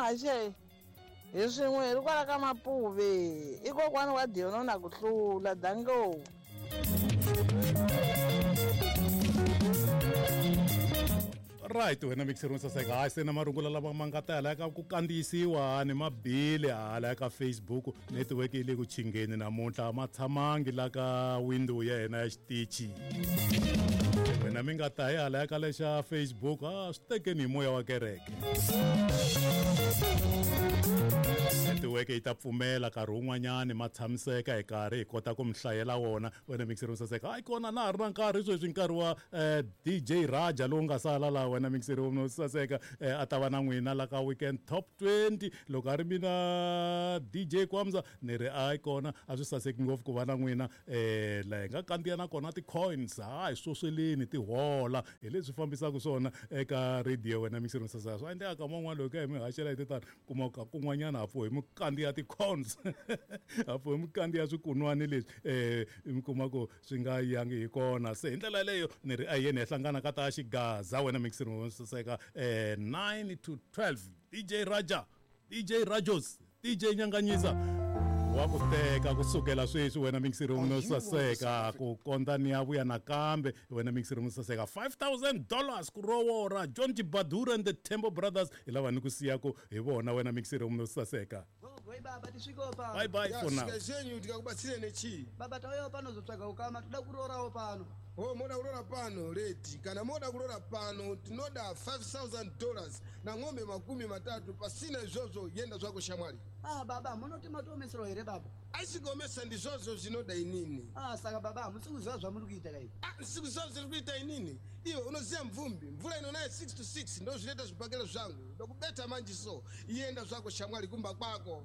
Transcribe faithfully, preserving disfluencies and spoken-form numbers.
haxe hi swin'we hi ri kwala ka Mapuve i kokwana wa Diono na ku hlula dango. Right wena mixer saseka hayi se na marungula lama ma nga ta hala ka ku kandziyisiwa ni mabili hala ka Facebook network yi le ku chingeni namuntlha ma tshamangi la ka window ya hina ya xitichi wena mi nga ta hi hala ka lexa Facebook a swi tekeni hi moya wa kereke network yi ta pfumela nkarhi wun'wanyani ma tshamiseka hi karhi hi kota ku mi hlayela wona wena mixer saseka hayi kona na ha ri na nkarhi sweswi nkarhi wa D J Raja lowu nga sala laha wena mixer wo saseka a ta va na n'wina la ka weekend top twenty loko a ri mina D J Kwamza ni ri hayi kona a swi saseki ngopfu ku va na n'wina um laha hi nga kandziya na kona ti-coins hayi swosweleni ti hola hi leswi fambisaka swona eka radio wena mixer saseka swi endleka ka man'wana loko hi mi haxela hi titani kuma ka kun'wanyana ha pfuhi mi kandziya ti-coins ha pfuhi mi kandziya swikunwani leswi um mi kuma ku swi nga yangi hi kona se hi ndlela yaleyo ni ri a hi yeni hi hlangana ka ta xigaza wena mixer saseka eh nine to twelve D J Raja D J Rajos D J Nyanganyisa wa ku teka kusukela sweswi wena mixer wo saseka ku kondza ni ya vuya nakambe wena mixer wo saseka five thousand dollars ku rowora John Badura and the Temple Brothers hi lava ni ku siyaku hi vona wena mixer wo saseka. Baba tisviko pano. Bye bye for now. Zvenyu tikakubatsire nechii? Baba tauyawo pano zotsvaga ukama toda kurorawo pano. Oh, moda kurora pano leti kana moda kurora pano tinoda five thousand dollars na ng'ombe makumi matatu pasina izvozvo yenda zvako shamwari. Ah baba munoti matoomesero here baba? Aisigomesa ndizvozvo zvinoda inini. Ah saka baba hamusi kuziva zvamuri kuita kai? Ah ndisikuziva zviri kuita inini. Iwe unoziva mvumbi mvura inonaya six to six ndo zvinoita zvibhakera zvangu ndokubeta manje so yenda zvako shamwari kumba kwako.